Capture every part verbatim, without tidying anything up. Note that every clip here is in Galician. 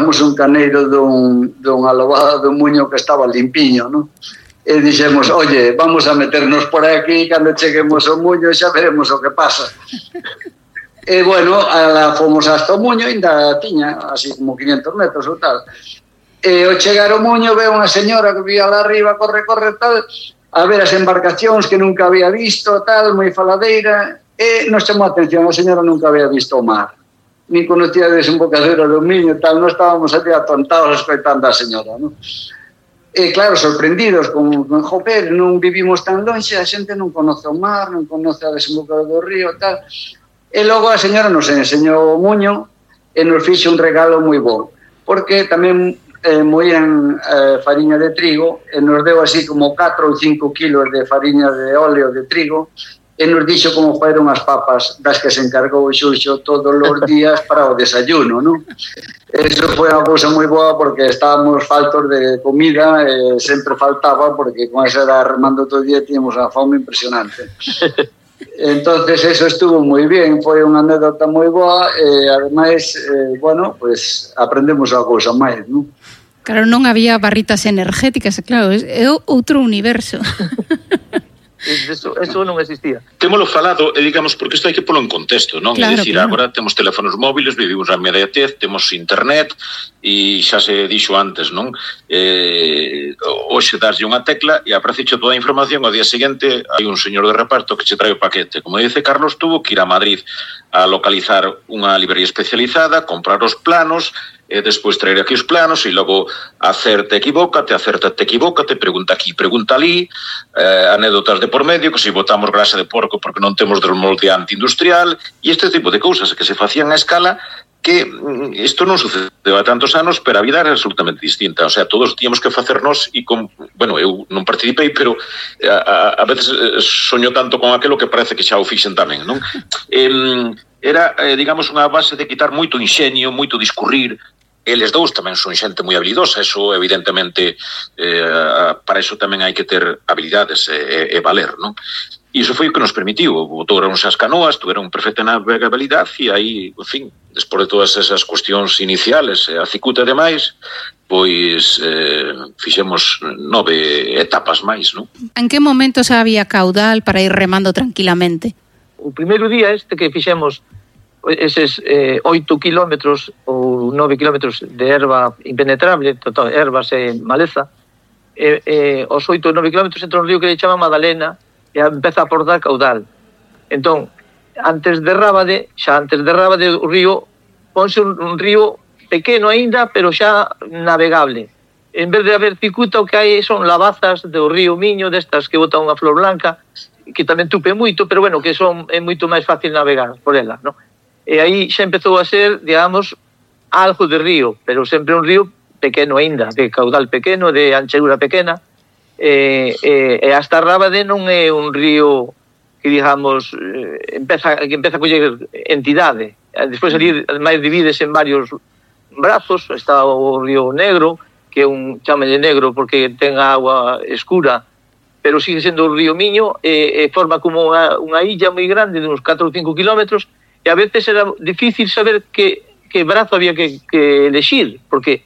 encontramos un caneiro dun, dunha lobada do Muño que estaba limpiño, non? E dixemos, oye, vamos a meternos por aquí, cando cheguemos ao Muño xa veremos o que pasa. E, bueno, a, fomos hasta o Muño, ainda tiña así como quinientos metros ou tal. E ao chegar ao Muño ve unha señora que vía lá arriba, corre, corre, tal, a ver as embarcacións que nunca había visto, tal, moi faladeira, e nos chamou a atención, a señora nunca había visto o mar, nin conocía a desembocadura do Miño, tal, non estábamos ali atontados escoitando a señora, non? E claro, sorprendidos, con, con joder, non vivimos tan lonxe, a xente non conoce o mar, non conoce a desembocadura do río, tal, e logo a señora nos enseñou o Muño e nos fixo un regalo moi bo, porque tamén eh, moían eh, fariña de trigo e nos deu así como catro ou cinco kilos de fariña de óleo de trigo e nos dixo como fueron as papas das que se encargou o Xuxo todos os días para o desayuno, non? Eso foi unha cousa moi boa porque estábamos faltos de comida e sempre faltaba porque con esa era remando todo o día tíamos a fome impresionante. Entonces eso estuvo moi bien, foi unha anécdota moi boa e ademais, eh, bueno, pues aprendemos a cousa máis, non? Claro, non había barritas energéticas, claro, é outro universo. Eso, eso non existía. Témolo falado, e digamos, porque isto hai que polo en contexto, non? Claro, é dicir, claro. Agora temos teléfonos móviles, vivimos a inmediatez, temos internet, e xa se dixo antes, non? Eh, hoxe daslle unha tecla e apareceche toda a información, ao día seguinte hai un señor de reparto que che trae o paquete. Como dice Carlos, tuvo que ir a Madrid a localizar unha librería especializada, comprar os planos, e despois traer aquí os planos e logo acerte, equivócate, acertate, equivócate, pregunta aquí, pregunta ali, eh, anécdotas de por medio, que se botamos grasa de porco porque non temos desmoldeante industrial, e este tipo de cousas que se facían a escala que isto non sucedeu a tantos anos, pero a vida era absolutamente distinta. O sea, todos tíamos que facernos e con, bueno, eu non participei, pero a, a, a veces soño tanto con aquelo que parece que xa o fixen tamén, non? Eh, era, eh, digamos, unha base de quitar moito inxenio, moito discurrir. Eles dous tamén son xente moi habilidosa, eso evidentemente eh, para eso tamén hai que ter habilidades e, e valer, non? E iso foi o que nos permitiu, botaron as canoas, tuveron perfecta navegabilidade e aí, en fin, despois de todas esas cuestións iniciales, a cicuta e demais, pois eh, fixemos nove etapas máis, non? En que momento xa había caudal para ir remando tranquilamente? O primeiro día este que fixemos eses eh, oito kilómetros ou nove kilómetros de erva impenetrable, total, ervas e maleza, e, e os oito ou nove kilómetros entra un río que le chama Madalena e empeza a aportar caudal. Entón, antes de Rábade, xa antes de Rábade o río ponse un, un río pequeno aínda, pero xa navegable. En vez de haber cicuta, o que hai son lavazas do río Miño, destas que botan unha flor blanca, que tamén tupe moito, pero bueno, que son é moito máis fácil navegar por ela, non? E aí xa empezou a ser, digamos, algo de río, pero sempre un río pequeno aínda, de caudal pequeno, de anchura pequena, e, e, e hasta Rábade non é un río que, digamos, empeza, que empeza a coller entidade. Despois ali, ademais, divides en varios brazos, está o río Negro, que é un chámelle negro porque ten agua escura, pero sigue sendo o río Miño, e, e forma como unha, unha illa moi grande, de uns catro ou cinco kilómetros, e a veces era difícil saber que, que brazo había que, que elegir, porque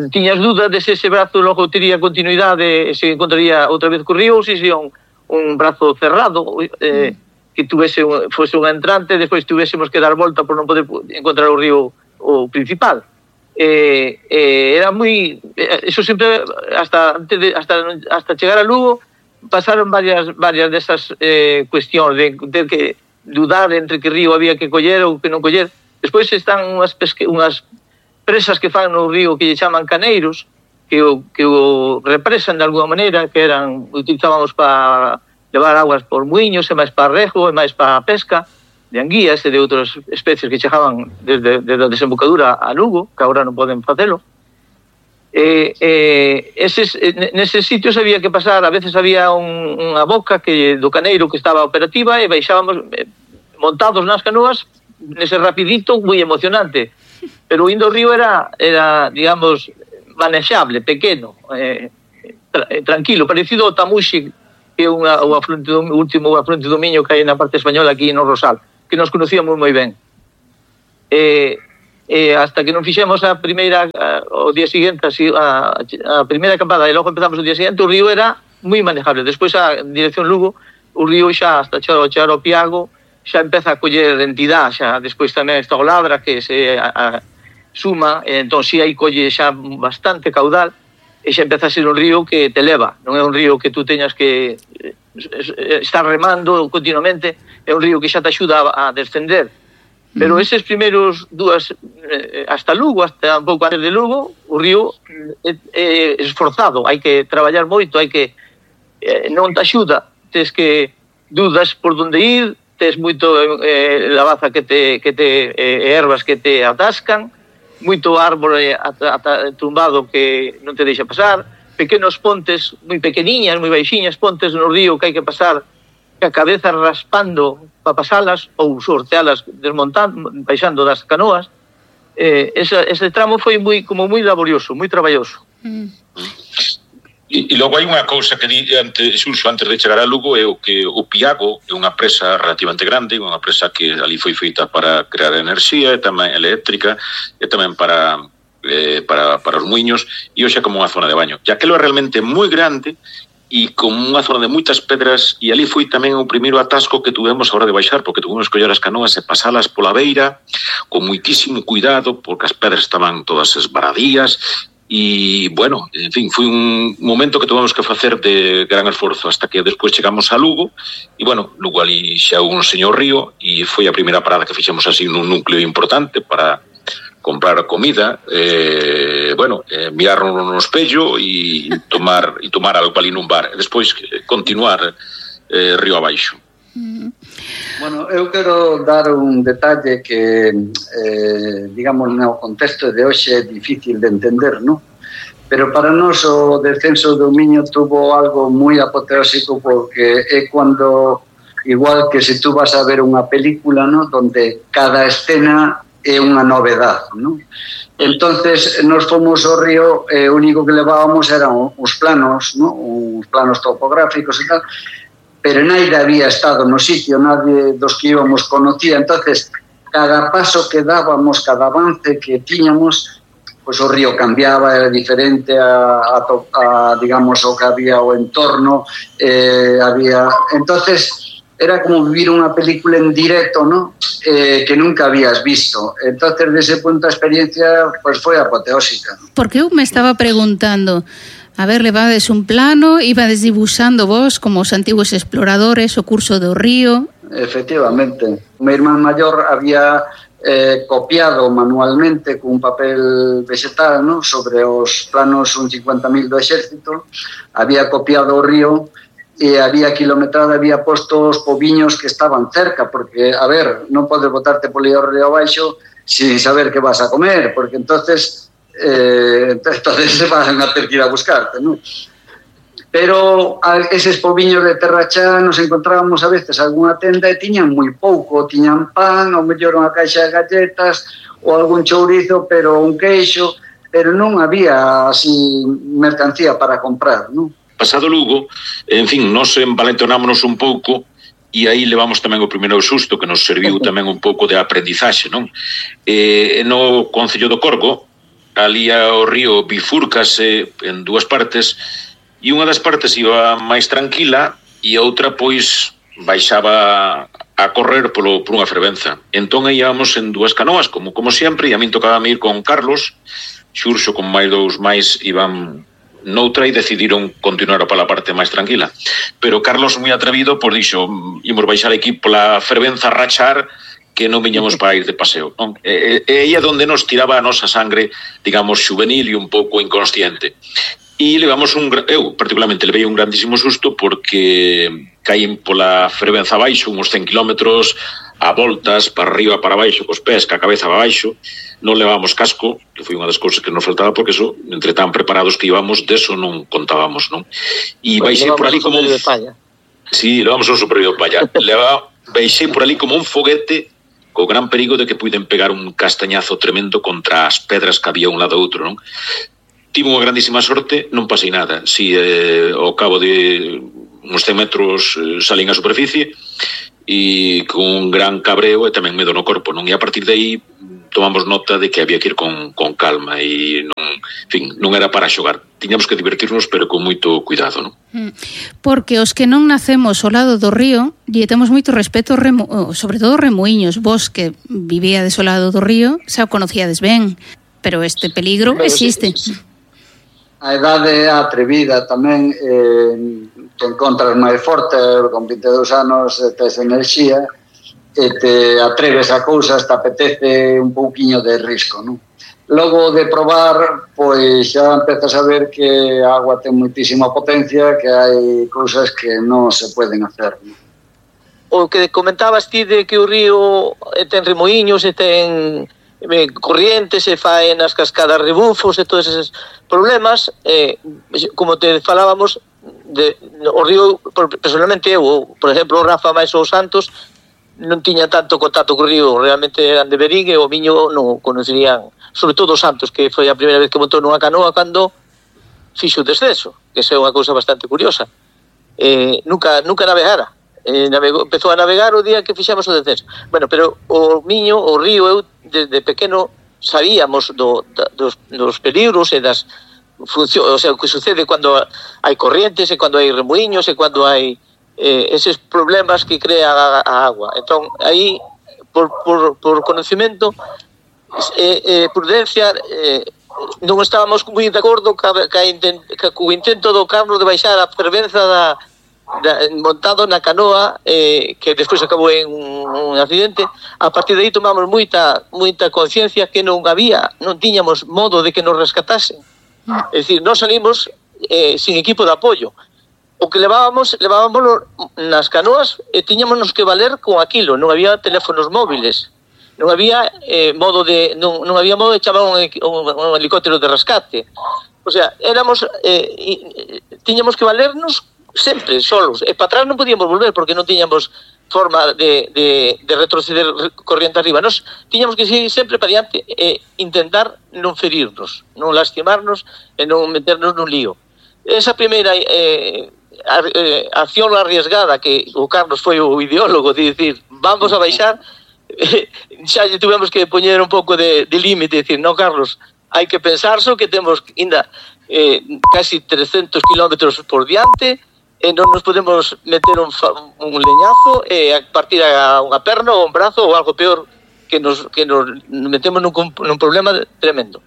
tiñas dudas de se ese brazo logo tería continuidade e se encontraría outra vez co río, ou se sería un, un brazo cerrado, eh, que tuvese un, fose un entrante, despois tuvésemos que dar volta por non poder encontrar o río o principal. Eh, eh, era moi... Eso sempre, hasta, antes de, hasta, hasta chegar a Lugo, pasaron varias, varias desas eh, cuestións de ter que dudar entre que río había que coller ou que non coller. Despois están unhas, pesque, unhas presas que fan no río que lle chaman caneiros, que o, que o represan de alguna maneira, que eran utilizábamos para levar aguas por muiños, e máis para rego, e máis para pesca, de anguías e de outras especies que chegaban desde, desde a desembocadura a Lugo, que agora non poden facelo. E, e, eses, neses sitios había que pasar, a veces había un, unha boca que do caneiro que estaba operativa e baixábamos eh, montados nas canoas nese rapidito moi emocionante, pero indo ao río era, era digamos, manexable, pequeno, eh, tra, eh, tranquilo, parecido ao Tamuxi, que é unha, o afluente do, último afluente do Miño que hai na parte española aquí no Rosal, que nos conocíamos moi ben. Eh, eh, hasta que non fixemos a primeira, a, o día seguinte, a, a primeira acampada, e logo empezamos o día seguinte, o río era moi manejable. Despois a dirección Lugo, o río xa hasta chegar ao Piago, xa empeza a coller entidade, xa despois tamén está o Labra, que se a, a, suma, e entón si aí colle xa bastante caudal, e xa empeza a ser un río que te leva, non é un río que tú teñas que estar remando continuamente, é un río que xa te axuda a, a descender. Pero eses primeiros dúas, eh, hasta Lugo, hasta un pouco antes de Lugo, o río é, é esforzado, hai que traballar moito, hai que eh, non te axuda, tes que dudas por onde ir, tes moito eh, lavaza que te, que te eh, ervas que te atascan, moito árbore ata, ata, tumbado que non te deixa pasar, pequenos pontes moi pequeniñas, moi baixiñas, pontes no río que hai que pasar a cabeza raspando para pasalas ou sortealas desmontando, baixando das canoas. Eh, ese, ese tramo foi moi como moi laborioso, moi traballoso. Mm. E, e logo hai unha cousa que di antes, Xurxo, antes de chegar a Lugo, é o que o Piago é unha presa relativamente grande, unha presa que ali foi feita para crear enerxía e tamén eléctrica e tamén para eh, para, para os muiños, e hoxe é como unha zona de baño. E aquelo é realmente moi grande e como unha zona de moitas pedras, e ali foi tamén o primeiro atasco que tuvemos a hora de baixar, porque tuvemos que coller as canoas e pasalas pola beira con moitísimo cuidado, porque as pedras estaban todas esbaradías, e, bueno, en fin, foi un momento que tuvemos que facer de gran esforzo hasta que despois chegamos a Lugo, e, bueno, Lugo ali xa un señor río, e foi a primeira parada que fixemos así nun núcleo importante para comprar comida, eh, bueno, eh, mirarnos no espello e tomar e tomar algo ali nun bar, e despois continuar eh, río abaixo. Bueno, eu quero dar un detalle que, eh, digamos, no contexto de hoxe é difícil de entender, ¿no? Pero para nós o descenso do Miño tuvo algo moi apoteósico, porque é cuando, igual que se tú vas a ver unha película, ¿no?, donde cada escena é unha novedade, ¿no? Entonces, nos fomos ao río, e eh, o único que levábamos eran os planos, ¿no?, os planos topográficos e tal, pero nadie había estado no sitio, nadie dos que íbamos conocía. Entonces, cada paso que dábamos, cada avance que tiñamos, pues o río cambiaba, era diferente a, a, a digamos, o que había o entorno, eh, había... Entonces, era como vivir unha película en directo, ¿no?, eh, que nunca habías visto. Entonces, desde ese punto, a experiencia pues foi apoteósica. Porque eu me estaba preguntando, a ver, levades un plano, ibades dibuixando vos como os antigos exploradores o curso do río. Efectivamente. O meu irmán maior había eh, copiado manualmente con un papel vegetal, ¿no?, sobre os planos un cincuenta mil do exército, había copiado o río e había kilometrada, había posto os pobiños que estaban cerca, porque, a ver, non podes botarte polo río abaixo sin saber que vas a comer, porque entonces eh, entonces se van a ter que ir a buscarte, ¿no? Pero a eses pobiños de terrachá nos encontrábamos a veces algunha tenda e tiñan moi pouco, tiñan pan, ou mellor unha caixa de galletas, ou algún chourizo, pero un queixo, pero non había así mercancía para comprar, ¿no? Pasado Lugo, en fin, nos envalentonámonos un pouco e aí levamos tamén o primeiro susto que nos serviu tamén un pouco de aprendizaxe, non? Eh, no Concello do Corgo, ali o río bifúrcase en dúas partes e unha das partes iba máis tranquila e a outra, pois, baixaba a correr polo, por unha fervenza. Entón aí íbamos en dúas canoas, como como sempre, e a min tocaba ir con Carlos, Xurxo con máis dous máis iban noutra e decidiron continuar pola parte máis tranquila. Pero Carlos, moi atrevido, pois dixo, imos baixar aquí pola fervenza a rachar, que non viñamos para ir de paseo, non? E, e aí é onde nos tiraba a nosa sangre, digamos, juvenil e un pouco inconsciente. E levamos un, eu particularmente levei un grandísimo susto, porque caín pola fervenza abaixo, uns cen kilómetros, a voltas, para arriba, para baixo, cos pés, ca cabeza para baixo. Non levábamos casco, que foi unha das cousas que nos faltaba, porque eso, entre tan preparados que íbamos, deso non contábamos, non? E baixei por ali como un... Sí, levamos un superior de palla. Leva... Baixei por ali como un foguete, co gran perigo de que puiden pegar un castañazo tremendo contra as pedras que había un lado ou outro, non? Tive unha grandísima sorte, non pasei nada. Si eh, ao cabo de uns cen metros eh, salín a superficie, e con un gran cabreo e tamén medo no corpo, non? E a partir de aí tomamos nota de que había que ir con, con calma e non, en fin, non era para xogar. Tiñamos que divertirnos, pero con moito cuidado, non? Porque os que non nacemos ao lado do río, lle temos moito respeto, remo, sobre todo remuiños. Vos que vivíades ao lado do río, xa o conocíades ben, pero este peligro existe. A idade atrevida tamén, eh, te encontras máis forte, con vinte e dous anos tes enerxía, e te atreves a cousas, te apetece un pouquiño de risco, non? Logo de probar, pois xa empezas a ver que a agua ten moitísima potencia, que hai cousas que non se poden hacer, non? O que comentabas ti de que o río ten remoinhos e ten eh, corrientes e fai nas cascadas rebufos e todos esos problemas, eh, como te falábamos, de, o río, personalmente eu, por exemplo, o Rafa máis os Santos, non tiña tanto contacto co río, realmente eran de Berín e o Miño non conocerían, sobre todo os Santos, que foi a primeira vez que montou nunha canoa cando fixo o descenso, que é unha cousa bastante curiosa. Eh, nunca, nunca navegara, eh, navegou, empezou a navegar o día que fixemos o descenso. Bueno, pero o Miño, o río, eu desde pequeno sabíamos do, da, dos, dos peligros e das funcións, o sea, o que sucede cando hai corrientes e cando hai remoinhos e cando hai eh, eses problemas que crea a, a agua. Entón, aí, por, por, por conocimiento, eh, eh, prudencia, eh, non estábamos moi de acordo ca, ca, intent, ca, co intento do Carlos de baixar a fervenza da, da, montado na canoa, eh, que despois acabou en un, un accidente. A partir de aí tomamos moita, moita conciencia que non había, non tiñamos modo de que nos rescatasen. É dicir, nós salimos eh, sin equipo de apoio. O que levábamos, levábamos nas canoas e tiñámonos que valer con aquilo, non había teléfonos móviles, non había eh, modo de non, non había modo de chamar un, un, un helicóptero de rescate. O sea, éramos eh, tiñamos que valernos sempre solos, e para atrás non podíamos volver porque non tiñamos forma de, de, de retroceder corriente arriba. Nos tiñamos que seguir sempre para diante e intentar non ferirnos, non lastimarnos e non meternos nun lío. Esa primeira eh, a, eh, acción arriesgada que o Carlos foi o ideólogo de dicir, vamos a baixar, eh, xa lle tuvemos que poñer un pouco de, de límite, dicir, no, Carlos, hai que pensarso que temos ainda eh, casi trescentos kilómetros por diante e non nos podemos meter un, un leñazo e a partir a unha perna ou un brazo ou algo peor que nos, que nos metemos nun, nun problema tremendo.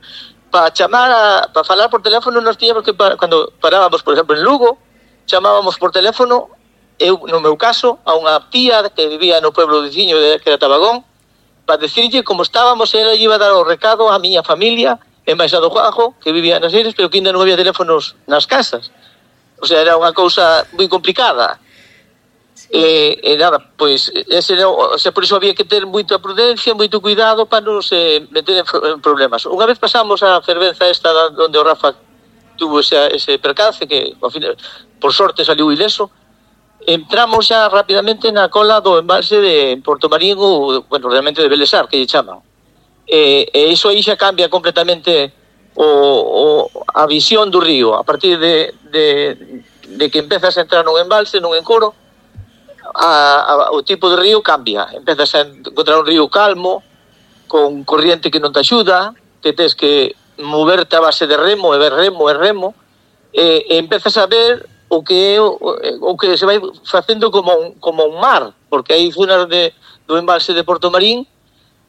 Para chamar a, para falar por teléfono nos tiñamos que, cando parábamos, por exemplo, en Lugo, chamábamos por teléfono, eu, no meu caso, a unha tía que vivía no pueblo veciño de, que era Tabagón, para decirlle como estábamos, ela iba a dar o recado a miña familia, en Baixa do Juanjo, que vivía nas illes, pero que ainda non había teléfonos nas casas. O sea, era unha cousa moi complicada. Sí. E, e nada, pois, ese, o sea, por iso había que ter moita prudencia, moito cuidado para non se meter en, en problemas. Unha vez pasamos a fervenza esta onde o Rafa tuvo ese, ese percance, que ao final, por sorte saliu ileso, entramos xa rapidamente na cola do embalse de Porto Marín, ou, bueno, realmente de Belesar, que lle chaman. E, e iso aí xa cambia completamente o, o, a visión do río. A partir de, de, de que empezas a entrar nun embalse, nun encoro, a, a, o tipo de río cambia. Empezas a encontrar un río calmo, con corriente que non te axuda, que tens que moverte a base de remo, e ver remo, e remo, e, e empezas a ver o que o, o que se vai facendo como un, como un mar, porque hai zonas de, do embalse de Porto Marín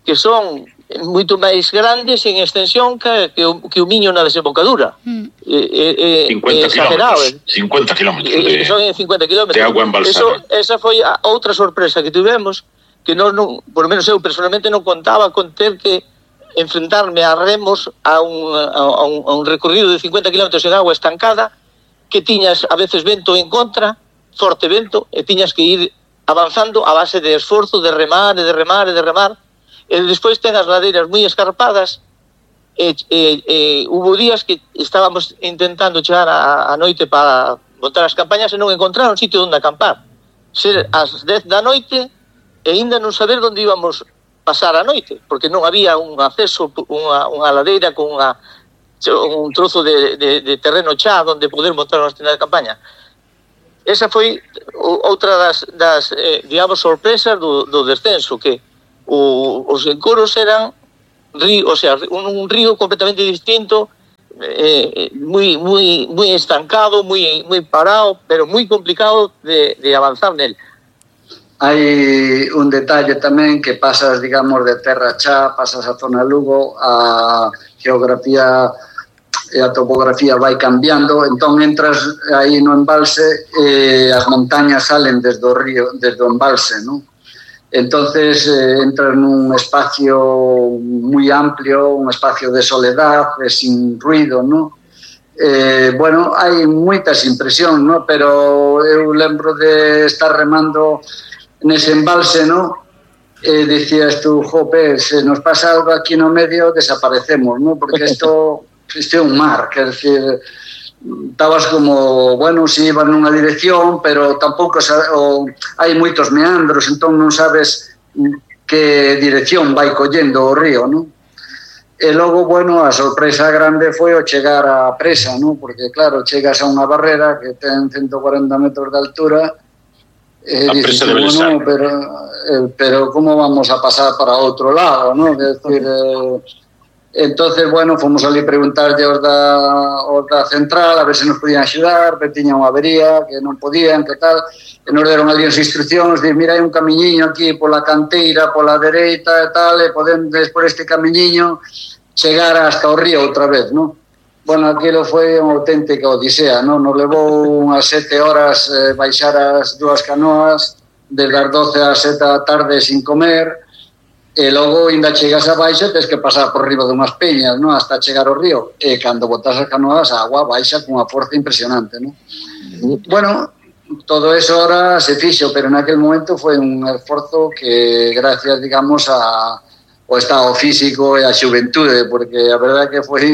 que son moito máis grandes en extensión que, que, o, que o Miño na desembocadura. Mm. E, e, cincuenta kilómetros. cincuenta kilómetros de, son cincuenta kilómetros de agua embalsada. Eso, esa foi a outra sorpresa que tivemos, que non, non, por lo menos eu personalmente non contaba con ter que enfrentarme a remos a un, a un, a un recorrido de cincuenta kilómetros en agua estancada, que tiñas a veces vento en contra, forte vento, e tiñas que ir avanzando a base de esforzo, de remar, e de remar, e de remar. E despois ten as ladeiras moi escarpadas, e, e, e hubo días que estábamos intentando chegar a, a noite para montar as campañas e non encontrar un sitio onde acampar. Ser as dez da noite e ainda non saber onde íbamos pasar a noite, porque non había un acceso, unha, unha ladeira con unha, un trozo de, de, de terreno xa onde poder montar unha tienda de campaña. Esa foi outra das, das eh, digamos, sorpresas do, do descenso, que o, os encoros eran río, o sea, un, un río completamente distinto, eh, muy, muy, muy estancado, muy, muy parado, pero muy complicado de, de avanzar nel. Hai un detalle tamén que pasas, digamos, de Terra Chá, pasas a zona Lugo, a geografía e a topografía vai cambiando, entón entras aí no embalse e as montañas salen desde o río, desde o embalse, non? Entonces eh, entras nun espacio moi amplio, un espacio de soledad, de sin ruido, non? Eh, bueno, hai moitas impresións, non? Pero eu lembro de estar remando nese embalse, ¿no? Eh, decías tú, jope, se nos pasa algo aquí no medio, desaparecemos, ¿no? Porque esto, isto é un mar, quer decir, estabas como, bueno, si iban nunha dirección, pero tampouco o, hai moitos meandros, entón non sabes que dirección vai collendo o río, ¿no? E logo, bueno, a sorpresa grande foi o chegar á presa, ¿no? Porque, claro, chegas a unha barrera que ten ciento cuarenta metros de altura. Eh, a presa de Belesar. Bueno, pero, eh, pero ¿cómo vamos a pasar para outro lado, no? Es decir, eh, entonces, bueno, fomos ali preguntarlle aos da, aos da central a ver se nos podían axudar, que tiña unha avería, que non podían, que tal, e nos deron ali as instruccións, de, mira, hai un camiñiño aquí pola canteira, pola dereita e tal, e podedes por este camiñiño chegar hasta o río outra vez, non? Bueno, aquilo foi unha auténtica odisea, non? Nos levou unhas sete horas eh, baixar as dúas canoas, desde as doce ás sete da tarde sin comer, e logo, ainda chegas a baixa, tens que pasar por riba dunhas peñas, non? Hasta chegar ao río. E cando botas as canoas, a agua baixa con unha forza impresionante, non? Bueno, todo eso ahora se fixo, pero en aquel momento foi un esforzo que, gracias, digamos, a o estado físico e a xuventude, porque a verdade que foi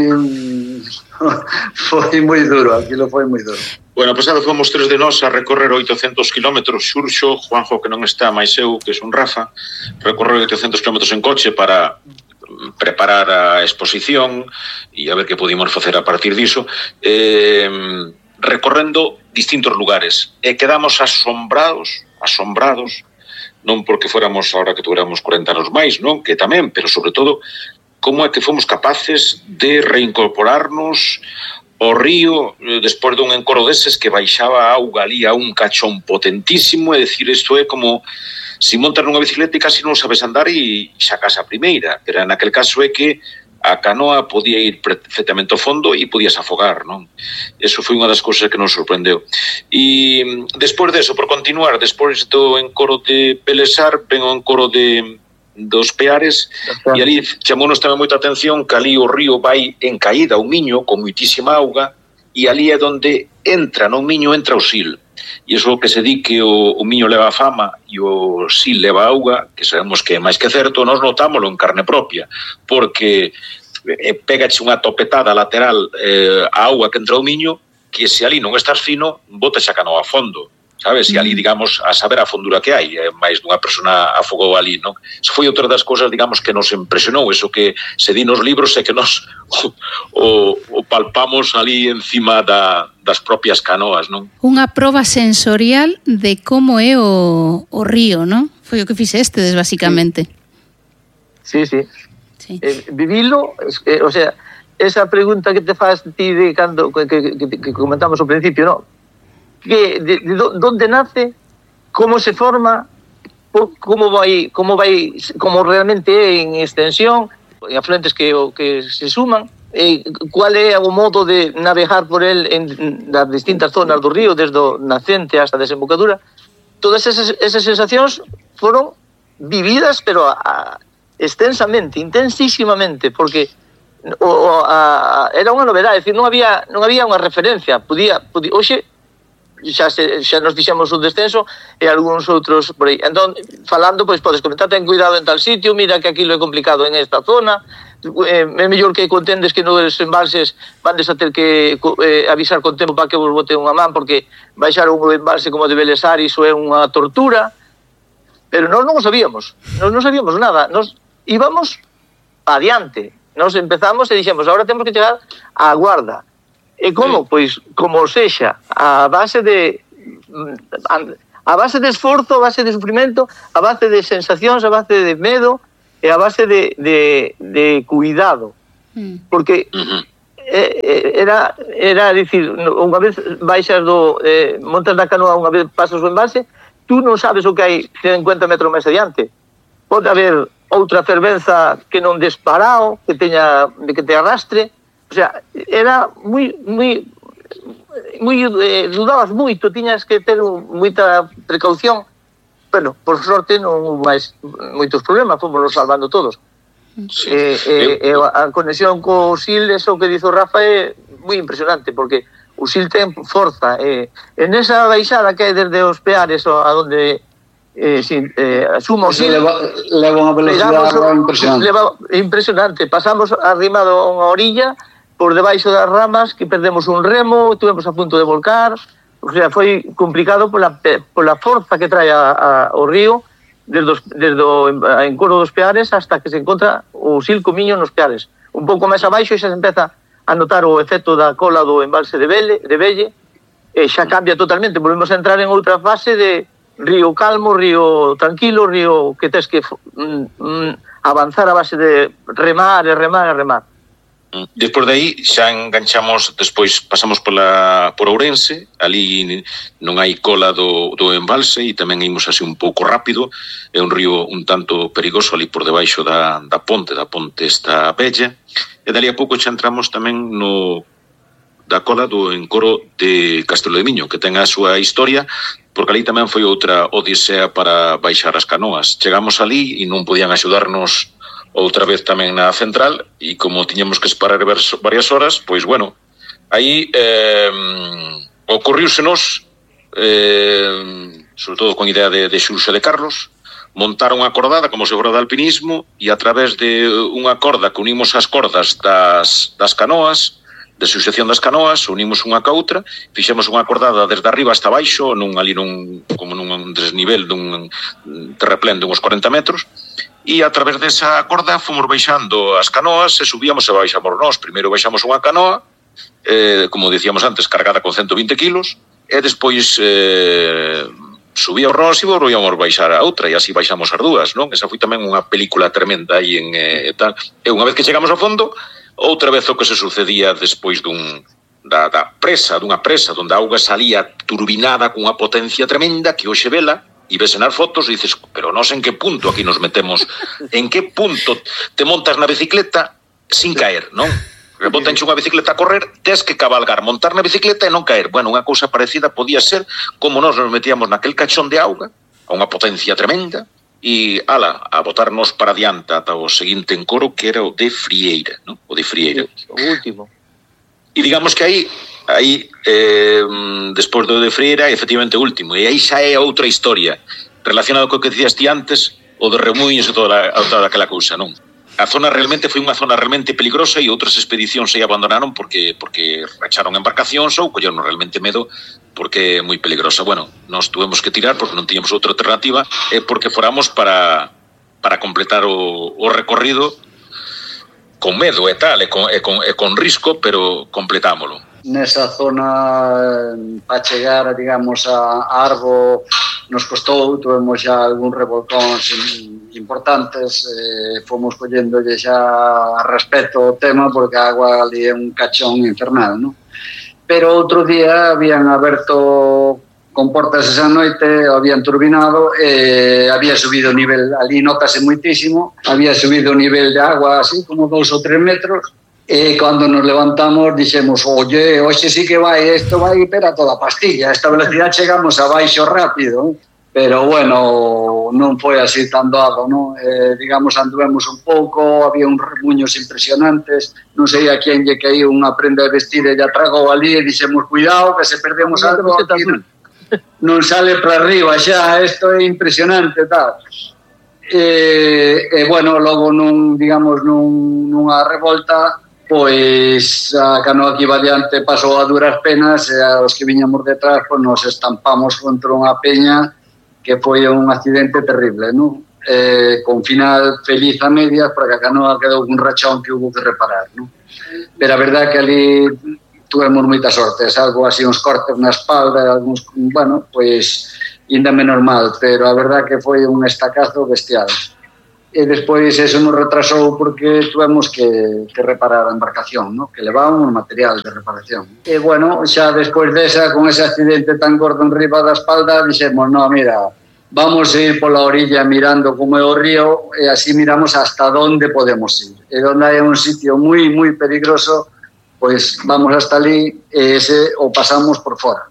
foi moi duro, aquilo foi moi duro. Bueno, pasado fomos tres de nós a recorrer oitocentos kilómetros, Xurxo, Juanjo, que non está, máis eu, que son Rafa, recorrer oitocentos kilómetros en coche para preparar a exposición e a ver que podíamos facer a partir diso, eh, recorrendo distintos lugares, e quedamos asombrados, asombrados, non porque fóramos ahora que tuéramos cuarenta anos máis, non? Que tamén, pero sobre todo como é que fomos capaces de reincorporarnos ao río despois dun encoro deses que baixaba a auga ali a un cachón potentísimo, é dicir, isto é como si montas nunha bicicleta e casi non sabes andar e sacas a primeira, pero naquel caso é que a canoa podía ir perfectamente ao fondo e podías afogar, non? Eso foi unha das cousas que nos sorprendeu. E despois deso, por continuar, despois do encoro de Belesar, ven o encoro de dos Peares, e ali chamounos tamén moita atención que ali o río vai en caída, un miño con moitísima auga, e ali é onde entra, no miño entra o Sil. E iso que se di que o, o miño leva a fama e o Sil leva a auga, que sabemos que é máis que certo, nós notámoslo en carne propia, porque eh, pegache unha topetada lateral eh, a auga que entra o miño, que se ali non estás fino, botas a canoa a fondo, sabes? E ali, digamos, a saber a fondura que hai, eh, máis dunha persona afogou ali, non? Eso foi outra das cousas, digamos, que nos impresionou, eso que se di nos libros e que nos o, o, o palpamos ali encima da, das propias canoas, non? Unha proba sensorial de como é o, o río, non? Foi o que fixestes, basicamente. Sí, sí. sí. Eh, vivilo, eh, o sea, esa pregunta que te faz ti de cando que, que, que, que comentamos ao principio, non? Que de, de donde nace, como se forma, como vai, como vai, como realmente é en extensión, en afluentes que que se suman, eh, cuál é o modo de navegar por el en das distintas zonas do río, desde o nacente hasta a desembocadura. Todas esas, esas sensacións foron vividas, pero a, a, extensamente, intensísimamente, porque o, o, a, era unha novedade, é dicir, non había non había unha referencia, podía, podía hoxe xa, se, xa nos fixemos un descenso e algúns outros por aí. Entón, falando, pois podes comentar, ten cuidado en tal sitio, mira que aquilo é complicado en esta zona, eh, é mellor que contendes que nos embalses vandes a ter que eh, avisar con tempo para que vos bote unha man, porque baixar un embalse como de Belesar, iso é unha tortura, pero nós non o sabíamos, nós non sabíamos nada, nós íbamos adiante, nós empezamos e dixemos, agora temos que chegar á Guarda. E como? Pois, como sexa, a base de a base de esforzo, a base de sufrimento, a base de sensacións, a base de medo, é a base de, de, de cuidado, porque eh, era, era dicir, unha vez baixas do, eh, montas na canoa, unha vez pasas o embalse, tú non sabes o que hai cincuenta metros máis adiante. Pode haber outra fervenza que non desparao, que teña, que te arrastre, o sea, era moi, moi, moi eh, dudabas moito, tiñas que ter moita precaución. Bueno, por sorte non houve máis moitos problemas, fomos salvando todos. Sí. Eh, eh, eh, a conexión co S I L, eso que dizo Rafa, é moi impresionante, porque o S I L ten forza. Eh, en esa baixada que hai desde os Peares a donde eh, si, eh, suma o S I L, leva, leva unha velocidade impresionante. Leva, impresionante. Pasamos arrimado a unha orilla, por debaixo das ramas, que perdemos un remo, tuvemos a punto de volcar. O sea, foi complicado pola, pola forza que trae a, a, o río desde, os, desde o encoro dos Peares hasta que se encontra o S I L Comiño nos Peares. Un pouco máis abaixo e xa se empeza a notar o efecto da cola do embalse de Velle, de Velle, e xa cambia totalmente. Volvemos a entrar en outra fase de río calmo, río tranquilo, río que tes que mm, mm, avanzar a base de remar e remar e remar. Despois de aí xa enganchamos, despois pasamos pola, por Ourense, ali non hai cola do, do embalse e tamén imos así un pouco rápido, é un río un tanto perigoso ali por debaixo da, da ponte, da ponte esta bella, e dali a pouco xa entramos tamén no da cola do encoro de Castelo de Miño, que ten a súa historia, porque ali tamén foi outra odisea para baixar as canoas. Chegamos ali e non podían axudarnos outra vez tamén na central, e como tiñamos que esperar varias horas, pois bueno, aí eh, ocorriúsenos, eh, sobre todo con idea de, de Xurxo de Carlos, montar unha cordada como se fora de alpinismo, e a través de unha corda que unimos as cordas das, das canoas, de suxección das canoas, unimos unha ca outra, fixemos unha cordada desde arriba hasta baixo, nun, ali nun, como nun desnivel dun terraplén de uns cuarenta metros, e a través desa corda fomos baixando as canoas e subíamos e baixamos nós. Primeiro baixamos unha canoa, eh, como dicíamos antes, cargada con ciento vinte kilos, e despois eh, subíamos nós e volvíamos baixar a outra, e así baixamos as dúas, non? Esa foi tamén unha película tremenda aí en eh, tal. E unha vez que chegamos ao fondo, outra vez o que se sucedía despois dun da, da presa, dunha presa, onde a auga salía turbinada cunha potencia tremenda que hoxe vela, e ves nas fotos e dices, pero nós en que punto aquí nos metemos, en que punto te montas na bicicleta sin caer, non? Botanche unha bicicleta a correr, tes que cabalgar, montar na bicicleta e non caer. Bueno, unha cousa parecida podía ser como nós nos metíamos naquel cachón de auga, a unha potencia tremenda, e, ala, a botarnos para adiante ata o seguinte encoro, que era o de Frieira, non? O de Frieira. O último. E digamos que aí aí, eh, despois do de Frieira, efectivamente o último, e aí xa é outra historia relacionado co que dicías ti antes, o de Remuíños e toda, toda aquela cousa, non? A zona realmente foi unha zona realmente peligrosa, e outras expedicións aí abandonaron porque porque racharon embarcacións ou colleron realmente medo porque é moi peligrosa. Bueno, nós tuvemos que tirar porque non tiñamos outra alternativa, e porque foramos para para completar o, o recorrido con medo e tal, e con, e con, e con risco, pero completámolo. Nesa zona, para chegar, digamos, a Arbo, nos costou, tuvemos xa algún revolcóns importantes, eh, fomos collendolle xa respeto ao tema, porque a agua ali é un cachón infernal, non? Pero outro día habían aberto comportas esa noite, habían turbinado, e había subido o nivel, ali notase moitísimo, había subido o nivel de agua así como dous ou tres metros, e cando nos levantamos dixemos, oye, hoxe sí que vai, isto vai para toda pastilla, a esta velocidade chegamos a baixo rápido, pero bueno, non foi así tan doado, non? Eh, digamos, anduvemos un pouco, había uns remuños impresionantes, non sei a quen lle caía unha prenda de vestir e lla tragou ali, e dixemos, cuidado, que se perdemos algo aquí, non, non sale para arriba xa, isto é impresionante, tal. E, e bueno, logo nun, digamos, nun, nunha revolta, pois a canoa que iba adiante pasou a duras penas, e aos que viñamos detrás, pois nos estampamos contra unha peña, que foi un accidente terrible, non? Eh, con final feliz a medias, porque a canoa quedou un rachón que hubo que reparar, non? Pero a verdade que ali tuvemos moita sorte, salvo así uns cortes na espalda, algúns, bueno, pois, ainda menos mal, pero a verdade que foi un estacazo bestial. e despois eso nos retrasou porque tuvemos que, que reparar a embarcación, ¿no? Que levábamos material de reparación. E, bueno, xa despois desa, con ese accidente tan gordo en riba da espalda, dixemos, no, mira, vamos a ir pola orilla mirando como é o río e así miramos hasta onde podemos ir. E onde hai un sitio moi, moi peligroso, pois vamos hasta ali e ese o pasamos por fora.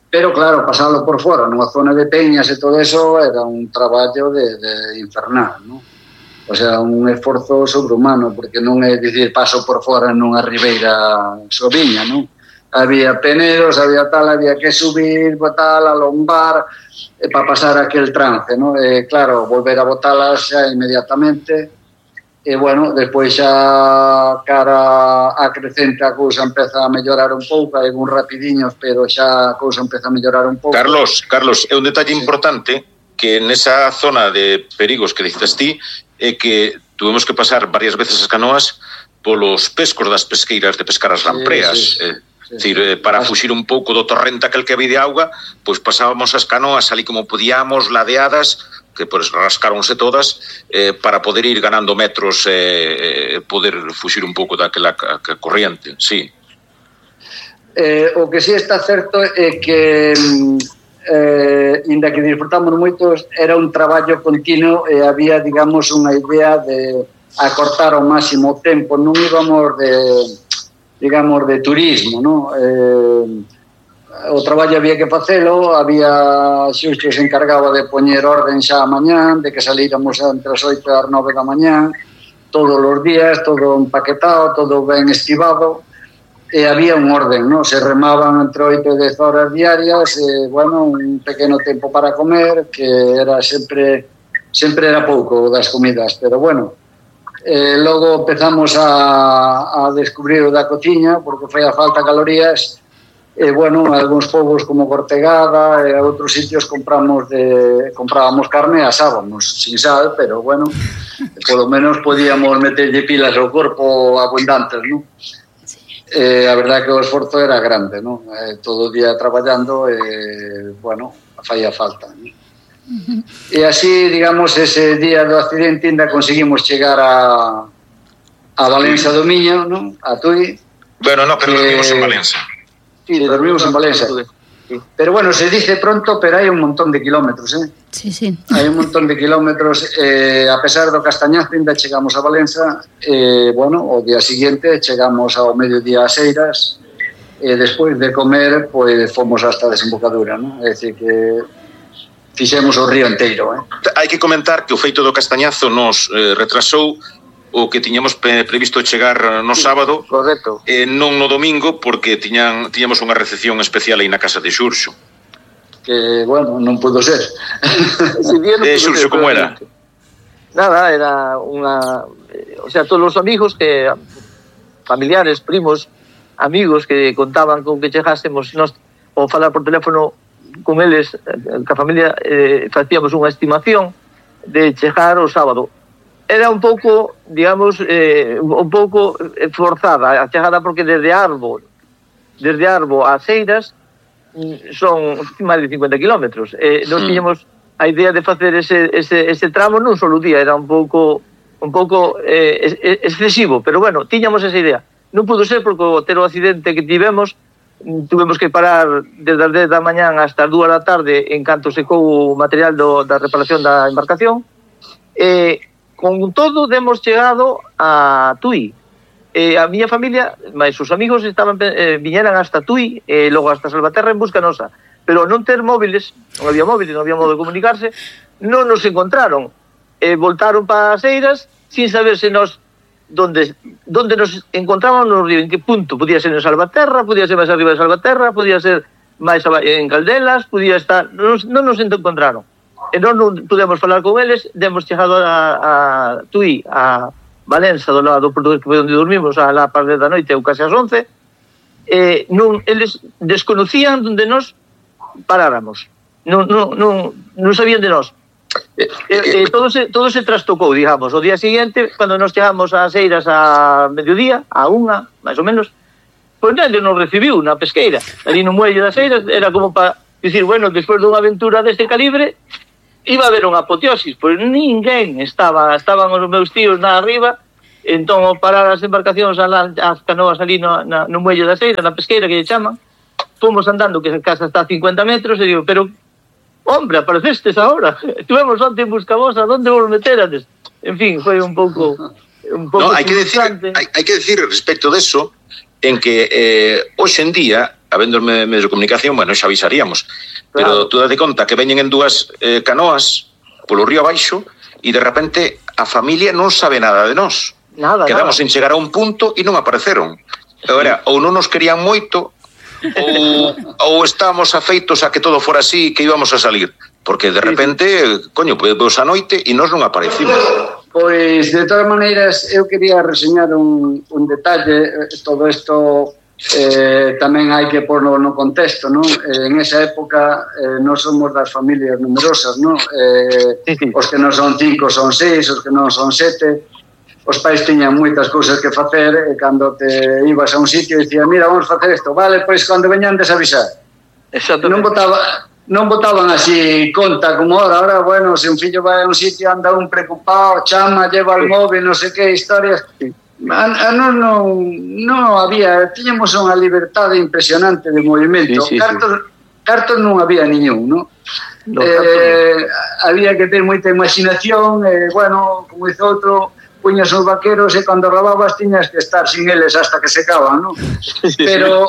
Pero, claro, pasalo por fora, nunha zona de peñas e todo eso, era un traballo de, de infernal, ¿no? O sea, un esforzo sobrehumano, porque non é dicir paso por fora nunha ribeira soviña, non? Había penedos, había tal, había que subir, tal, alombar, eh, para pasar aquel trance, non? E, claro, volver a botalas xa inmediatamente, e, bueno, despois xa cara a crecente a cousa empeza a mellorar un pouco, hai uns rapidiños, pero xa a cousa empeza a mellorar un pouco. Carlos, Carlos, é un detalle sí. importante que nesa zona de perigos que dices ti, é que tuvemos que pasar varias veces as canoas polos pescos das pesqueiras de pescar as lampreas. Sí, sí, sí. É dicir, para fuxir un pouco do torrente aquel que había de auga, pois pasábamos as canoas ali como podíamos, ladeadas, que pois rascaronse todas, eh, para poder ir ganando metros e eh, poder fuxir un pouco daquela corriente, sí. Eh, o que sí está certo é que eh, inda que disfrutamos moitos, era un traballo continuo e había, digamos, unha idea de acortar ao máximo o tempo, non íbamos de, digamos, de turismo, non? Eh, o traballo había que facelo, había xusto se encargaba de poñer orden xa a mañán, de que salíramos entre as oito e as nove da mañán, todos os días, todo empaquetado, todo ben estivado, e había un orden, ¿no? Se remaban entre oito e dez horas diarias, e, bueno, un pequeno tempo para comer, que era sempre, sempre era pouco das comidas, pero, bueno, eh, logo empezamos a, a descubrir o da cociña, porque foi a falta calorías, e, bueno, algúns povos como Cortegada e outros sitios compramos de, comprábamos carne e asábamos, sin sal, pero, bueno, polo menos podíamos meterlle pilas ao corpo abundantes, ¿no? Eh, a verdade que o esforzo era grande, ¿no? Eh, todo o día traballando, eh, bueno, faía falta, ¿no? Uh-huh. E así, digamos, ese día do accidente ainda conseguimos chegar a a Valença do Miño, ¿no? A Tui. Bueno, no, pero eh, dormimos en Valença. Sí, dormimos en Valença. Pero bueno, se dice pronto, pero hai un montón de kilómetros, eh? Sí, sí. Hai un montón de kilómetros, eh, a pesar do castañazo, ainda chegamos a Valença, eh, bueno, o día siguiente chegamos ao mediodía a Seiras, e despois de comer, pois fomos hasta a desembocadura, ¿no? É dicir que fixemos o río inteiro, eh? Hai que comentar que o feito do castañazo nos eh, retrasou o que tiñamos previsto chegar no sábado, correcto, e non no domingo, porque tiñan, tiñamos unha recepción especial aí na casa de Xurxo. Que, bueno, non pudo ser. De Xurxo, como era? Nada, era unha... O sea, todos os amigos que... familiares, primos, amigos que contaban con que chegásemos, nos, ou falar por teléfono con eles, que a familia, eh, facíamos unha estimación de chegar o sábado. Era un pouco, digamos, eh, un pouco forzada a chegada, porque desde Arbo, desde Arbo a Seiras son máis de cincuenta kilómetros. Eh, nos tiñamos a idea de facer ese, ese, ese tramo nun solo día, era un pouco un pouco eh, excesivo, pero bueno, tiñamos esa idea. Non pudo ser porque o ter o accidente que tivemos, tuvemos que parar desde as dez da mañán hasta as dúas da tarde en canto secou o material do, da reparación da embarcación. E eh, con todo demos chegado a Tui. Eh, a miña familia, máis os amigos estaban eh, viñeran hasta Tui e eh, logo hasta Salvaterra en busca nosa, pero non ter móviles, non había móviles, non había modo de comunicarse, non nos encontraron. Eh, voltaron para Seiras sin saber se nos donde, donde nos encontrábamos no río, en que punto. Podía ser en Salvaterra, podía ser máis arriba de Salvaterra, podía ser máis en Caldelas, podía estar... Non, non nos encontraron. E non, non pudemos falar con eles, demos chegado a, a Tui, a Valença, do lado do portugués, que foi onde dormimos a la parte da noite, ou case as once, e non, eles desconocían onde nos paráramos. Non, non, non, non sabían de nós. E, e, e todo, se, todo se trastocou, digamos. O día seguinte, cando nos chegamos a Seiras a mediodía, a unha, máis ou menos, pois nadie nos recibiu na pesqueira. Ali no muelle das Seiras, era como para dicir, bueno, despois dunha aventura deste calibre, iba a haber unha apoteosis, pois ninguén estaba, estaban os meus tíos na arriba, entón ao parar as embarcacións, as canoas ali no, na, no muelle da Seira, na pesqueira que lle chaman, fomos andando, que a casa está a cincuenta metros, e digo, pero, hombre, aparecestes ahora, estuvemos onte en Buscabosa, onde vos meterades? En fin, foi un pouco... Un pouco no, hai que decir, hai, hai que decir respecto de eso, en que eh, hoxe en día, habendo medios de comunicación, bueno, xa avisaríamos, pero tú date conta que veñen en dúas eh, canoas polo río abaixo e de repente a familia non sabe nada de nós. Nada, Quedamos nada. en chegar a un punto e non apareceron. Agora, ou non nos querían moito ou, ou estábamos afeitos a que todo fora así, que íbamos a salir. Porque de repente, coño, vos a noite e nós non aparecimos. Pois, de todas maneiras, eu quería reseñar un, un detalle. Todo isto eh, tamén hai que porlo no contexto, non? Eh, en esa época eh, non somos das familias numerosas, non? Eh, os que non son cinco son seis, os que non son sete. Os pais tiñan moitas cousas que facer e cando te ibas a un sitio dicía, mira, vamos facer isto, vale, pois cando veñan desavisar. Non botaba, non botaban así conta como ahora, ahora, bueno, se un fillo vai a un sitio anda un preocupado, chama, lleva el móvil, non sei que, historias... A, a non, non, non había, tiñamos unha liberdade impresionante de movimento. Sí, sí, cartos, sí. cartos non había niñún, non? No, eh, había que ter moita imaginación, e, eh, bueno, como dice outro, puñas os vaqueros e cando robabas tiñas que estar sin eles hasta que secaban, non? Pero,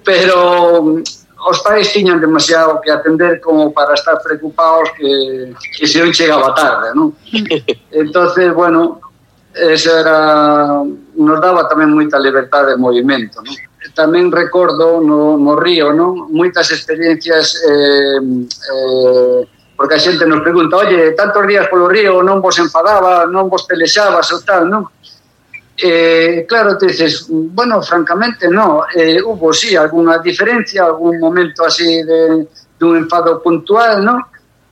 pero os pais tiñan demasiado que atender como para estar preocupados que, que se non chegaba tarde, non? Entonces, bueno... eso era, nos daba tamén moita liberdade de movimento, non? Tamén recordo no, no río, non? Moitas experiencias eh, eh, porque a xente nos pregunta, oye, tantos días polo río non vos enfadaba, non vos pelexabas ou tal, non? Eh, claro, te dices, bueno, francamente no, eh, hubo sí alguna diferencia, algún momento así de, de un enfado puntual, non?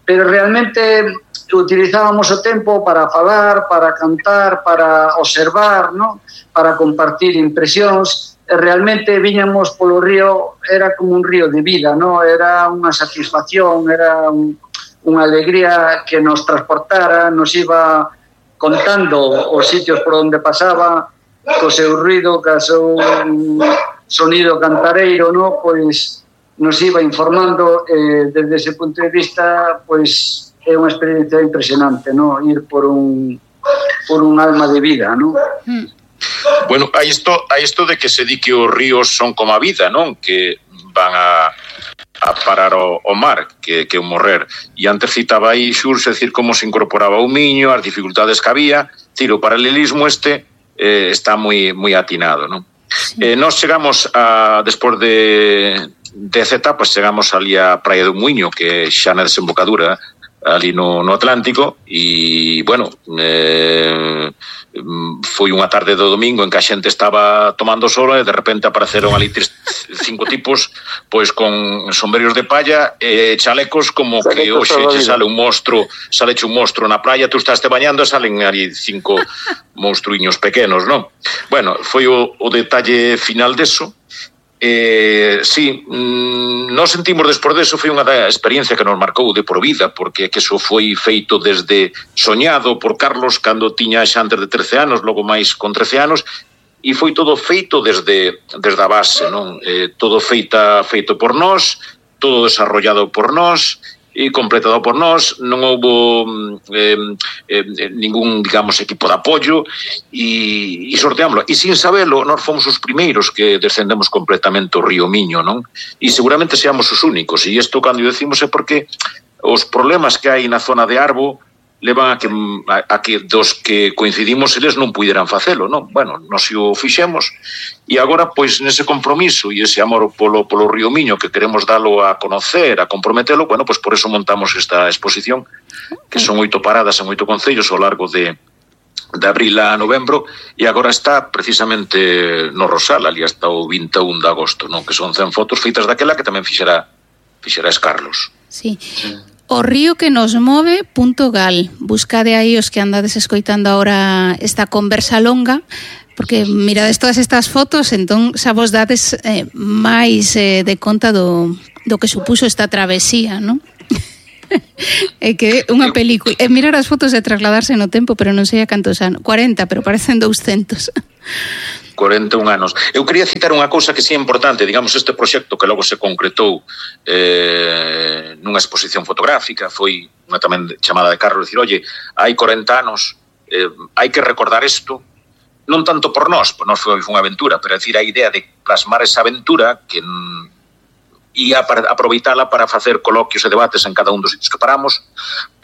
Pero realmente utilizábamos o tempo para falar, para cantar, para observar, ¿no? Para compartir impresións. E realmente viñamos polo río, era como un río de vida, ¿no? Era unha satisfacción, era un, unha alegría que nos transportara, nos iba contando os sitios por onde pasaba, co seu ruido, co seu sonido cantareiro, ¿no? Pois nos iba informando, eh, desde ese punto de vista, pois é unha experiencia impresionante, ¿no? Ir por un por un alma de vida, ¿no? Mm. Bueno, hai isto, hai isto de que se di que os ríos son como a vida, non? Que van a, a parar o, o mar, que, que o morrer. E antes citaba aí Xurxe, decir, como se incorporaba o miño, as dificultades que había. Decir, o paralelismo este eh, está moi moi atinado, non? Sí. Eh, nós chegamos a, despois de dez etapas, chegamos ali a Praia do Muiño, que xa na desembocadura, ali no, no Atlántico, e, bueno, eh, foi unha tarde do domingo en que a xente estaba tomando sol e de repente apareceron ali tres, cinco tipos pois con sombreros de palla e chalecos como que hoxe che sale un monstro, sale un monstro na praia, tú estás te bañando e salen ali cinco monstruiños pequenos, non? Bueno, foi o, o detalle final deso. Eh, sí, mmm, nos sentimos despois deso, foi unha da experiencia que nos marcou de por vida, porque que eso foi feito desde soñado por Carlos cando tiña xa antes de trece anos, logo máis con trece anos, e foi todo feito desde desde a base, non? Eh, todo feita feito por nós, todo desarrollado por nós e completado por nós, non houbo eh, eh, ningún, digamos, equipo de apoio e, e sorteámoslo. E sin sabelo, nós fomos os primeiros que descendemos completamente o río Miño, non? E seguramente seamos os únicos. E isto, cando decimos, é porque os problemas que hai na zona de Arbo levan a que, a, a que dos que coincidimos eles non puderan facelo, non? Bueno, nós o fixemos e agora, pois, nese compromiso e ese amor polo, polo río Miño que queremos dalo a conocer, a comprometelo, bueno, pois por eso montamos esta exposición, que son oito paradas en oito concellos ao largo de de abril a novembro, e agora está precisamente no Rosal, ali hasta o vinte e un de agosto, non? Que son cen fotos feitas daquela que tamén fixera fixera Carlos. Sí. O río que nos move punto gal. Buscade aí os que andades escoitando agora esta conversa longa, porque mirades todas estas fotos, entón xa vos dades eh, máis eh, de conta do, do que supuso esta travesía, non? É que unha película, é mirar as fotos e trasladarse no tempo, pero non sei a cantos anos, cuarenta, pero parecen douscentos. cuarenta e un anos. Eu quería citar unha cousa que sí é importante, digamos, este proxecto que logo se concretou eh, nunha exposición fotográfica, foi unha tamén chamada de Carlos, dicir, oye, hai corenta anos, eh, hai que recordar isto, non tanto por nós, por nós foi unha aventura, pero é dicir, a idea de plasmar esa aventura que ia para aproveitala para facer coloquios e debates en cada un dos sitios que paramos,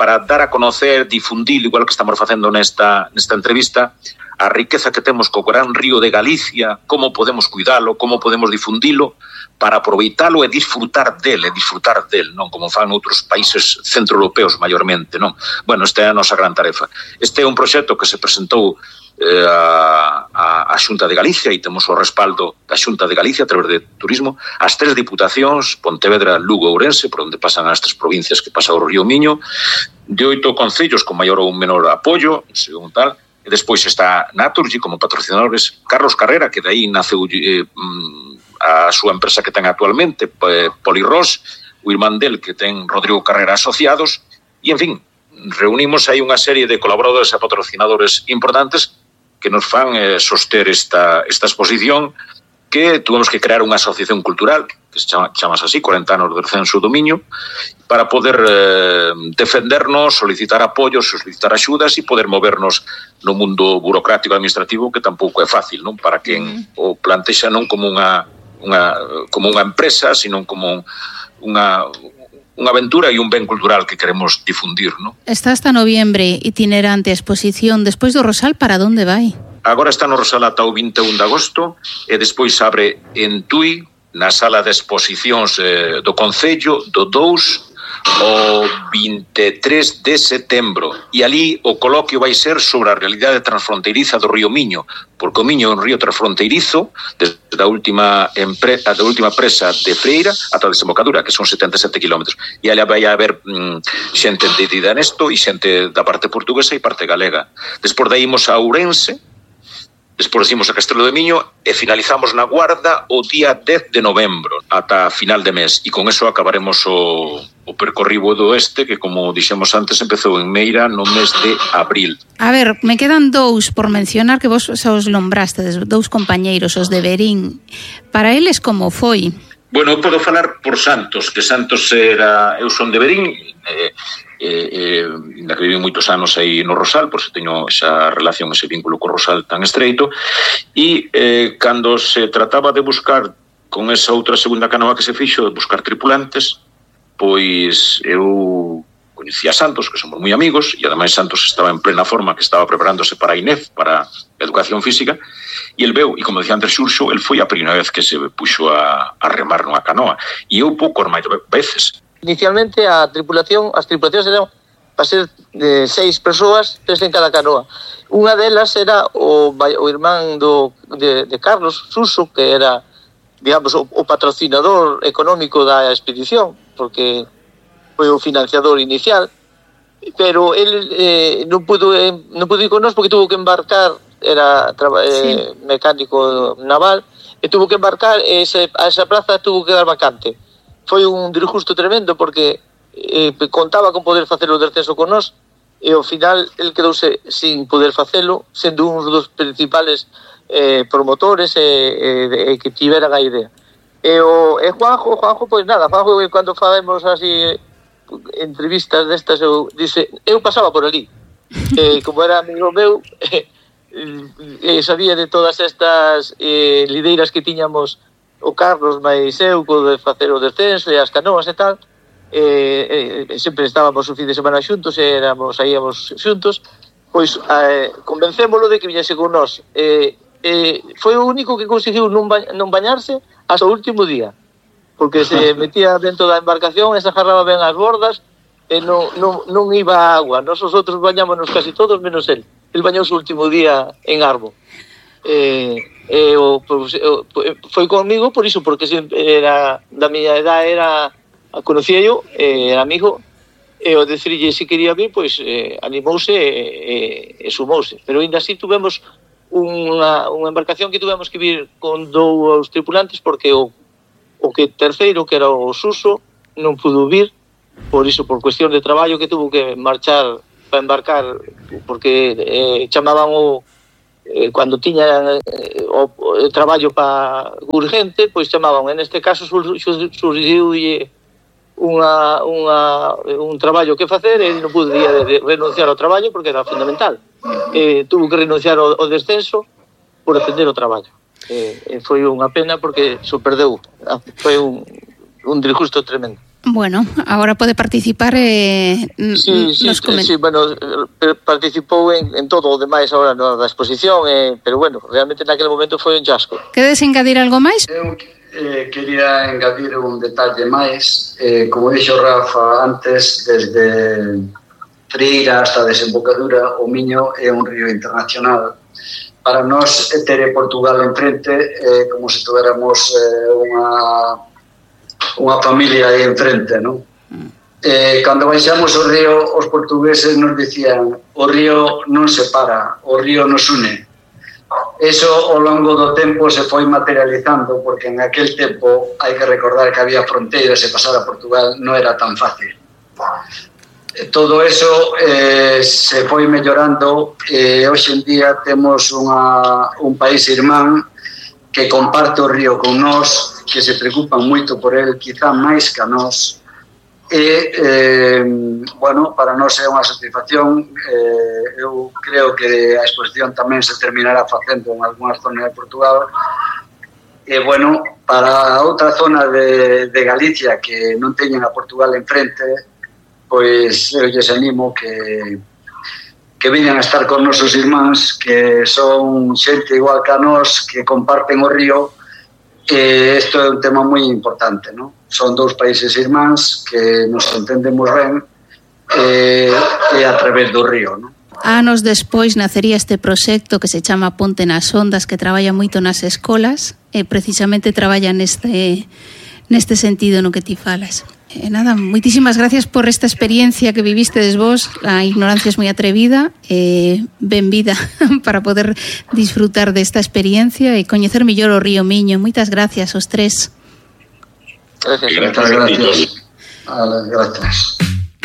para dar a conocer, difundir, igual que estamos facendo nesta, nesta entrevista, a riqueza que temos co gran río de Galicia, como podemos cuidalo, como podemos difundilo, para aproveitalo e disfrutar del, e disfrutar del, non como fan outros países centroeuropeos maiormente, non? Bueno, esta é a nosa gran tarefa. Este é un proxecto que se presentou eh, a, a, a Xunta de Galicia e temos o respaldo da Xunta de Galicia a través de turismo, as tres diputacións, Pontevedra, Lugo e Ourense, por onde pasan as tres provincias que pasa o río Miño, de oito concellos con maior ou menor apoio, según tal, e despois está Naturgy como patrocinadores, Carlos Carrera, que de aí naceu eh, a súa empresa que ten actualmente, eh, Polirros, o irmán del que ten Rodrigo Carrera Asociados, e en fin, reunimos aí unha serie de colaboradores e patrocinadores importantes que nos fan eh, soster esta, esta exposición, que tuvemos que crear unha asociación cultural, que se chama, chamas así, cuarenta anos do descenso do Miño, para poder eh, defendernos, solicitar apoios, solicitar axudas e poder movernos no mundo burocrático administrativo, que tampouco é fácil, non? Para quen mm. o plantexa non como unha, unha, como unha empresa, sino como unha, unha aventura e un ben cultural que queremos difundir, non? Está hasta noviembre itinerante a exposición. Despois do Rosal, para onde vai? Agora está no Rosal ata o vinte e un de agosto e despois abre en Tui, na sala de exposicións eh, do Concello, do dous o vinte e tres de setembro. E ali o coloquio vai ser sobre a realidade transfronteiriza do río Miño, porque o Miño é un río transfronteirizo desde a última, empre, a última presa de Freira ata a desembocadura, que son setenta e sete kilómetros. E ali vai haber mm, xente entendida nesto e xente da parte portuguesa e parte galega. Despois daí imos a Ourense, despois imos a Castelo de Miño e finalizamos na Guarda o día dez de novembro ata final de mes, e con eso acabaremos o, o percorrido do oeste, que como dixemos antes empezou en Meira no mes de abril. A ver, me quedan dous por mencionar que vos xa os nombrastes, dous compañeiros, os de Verín. Para eles como foi? Bueno, eu podo falar por Santos, que Santos era, eu son de Verín, eh, eh, eh, na que viví moitos anos aí no Rosal, por eso teño esa relación, ese vínculo co Rosal tan estreito, e eh, cando se trataba de buscar con esa outra segunda canoa que se fixo, de buscar tripulantes, pois eu coñecía a Santos, que somos moi amigos, e ademais Santos estaba en plena forma, que estaba preparándose para a I N E F, para a educación física, e el veu, e como decía antes Xurxo, el foi a primeira vez que se puxo a, a remar nunha canoa, e eu pouco máis veces. Inicialmente a tripulación, as tripulacións eran para ser de seis persoas, tres en cada canoa. Unha delas era o, o irmán do, de, de Carlos Suso, que era, digamos, o, o patrocinador económico da expedición, porque foi o financiador inicial, pero el eh, non pudo eh, non pudo ir con nós porque tuvo que embarcar, era eh, sí. mecánico naval, e tuvo que embarcar e ese, a esa plaza tuvo que dar vacante. Foi un disgusto tremendo porque eh, contaba con poder facer o descenso con nós e ao final el quedouse sin poder facelo, sendo un dos principales eh, promotores e, eh, eh, que tiveran a idea. E o e Juanjo, Juanjo, pois nada, Juanjo, cando facemos así entrevistas destas, eu dice, eu pasaba por ali. Eh, como era amigo meu, eh, eh, sabía de todas estas eh, lideiras que tiñamos o Carlos máis eu, co de facer o descenso e as canoas e tal, eh, eh, sempre estábamos o fin de semana xuntos e éramos, saíamos xuntos, pois eh, convencémolo de que viñese con nós. Eh, eh, foi o único que conseguiu non, ba non bañarse hasta o último día, porque se metía dentro da embarcación e se agarraba ben as bordas e non, non, non iba a agua. Nos os outros bañámonos casi todos menos el. El bañouse o último día en Arbo. Eh, eh, o, pues, o, foi comigo por iso, porque era da miña edad, era conocía yo, eh, era amigo, e o decirlle se quería vir, pois eh, animouse e, e, e sumouse. Pero ainda así tuvemos unha, unha embarcación que tuvemos que vir con dous tripulantes, porque o, o que terceiro, que era o Suso, non pudo vir, por iso, por cuestión de traballo, que tuvo que marchar para embarcar, porque eh, chamaban o eh, cando tiña eh, o, o traballo para urgente, pois chamaban, en este caso surgiu unha, unha, un traballo que facer e non podía de, de renunciar ao traballo porque era fundamental. Eh, tuvo que renunciar ao, ao descenso por atender o traballo. Eh, foi unha pena porque se perdeu. Foi un, un disgusto tremendo. Bueno, agora pode participar eh, sí, sí, nos comentarios. Sí, bueno, participou en, en todo o demais agora no, da exposición, eh, pero bueno, realmente naquele momento foi un chasco. Queres engadir algo máis? Eu eh, quería engadir un detalle máis. Eh, como dixo Rafa antes, desde Trieira hasta a desembocadura, o Miño é un río internacional. Para nós ter Portugal enfrente é eh, como se tuéramos eh, unha unha familia aí enfrente, non? Eh, cando baixamos o río, os portugueses nos dicían o río non se para, o río nos une. Eso ao longo do tempo se foi materializando, porque en aquel tempo hai que recordar que había fronteiras e pasar a Portugal non era tan fácil. Todo eso eh, se foi mellorando e hoxe en día temos unha, un país irmán que comparte o río con nós, que se preocupan moito por el, quizá máis que a nós, e, eh, bueno, para nós é unha satisfacción. Eh, eu creo que a exposición tamén se terminará facendo en algunhas zonas de Portugal, e, bueno, para a outra zona de, de Galicia que non teñen a Portugal enfrente, pois eu lles animo que que veñan a estar con nosos irmáns, que son xente igual que a nós, que comparten o río, e isto é un tema moi importante, non? Son dous países irmáns que nos entendemos ben e, e a través do río, non? Anos despois nacería este proxecto que se chama Ponte nas Ondas, que traballa moito nas escolas e precisamente traballa neste, neste sentido no que ti falas. E nada, moitísimas gracias por esta experiencia que vivistedes vos. A ignorancia é moi atrevida e ben vida para poder disfrutar desta experiencia e coñecer mellor o río Miño. Moitas gracias aos tres. Gracias. Gracias. Gracias. Gracias.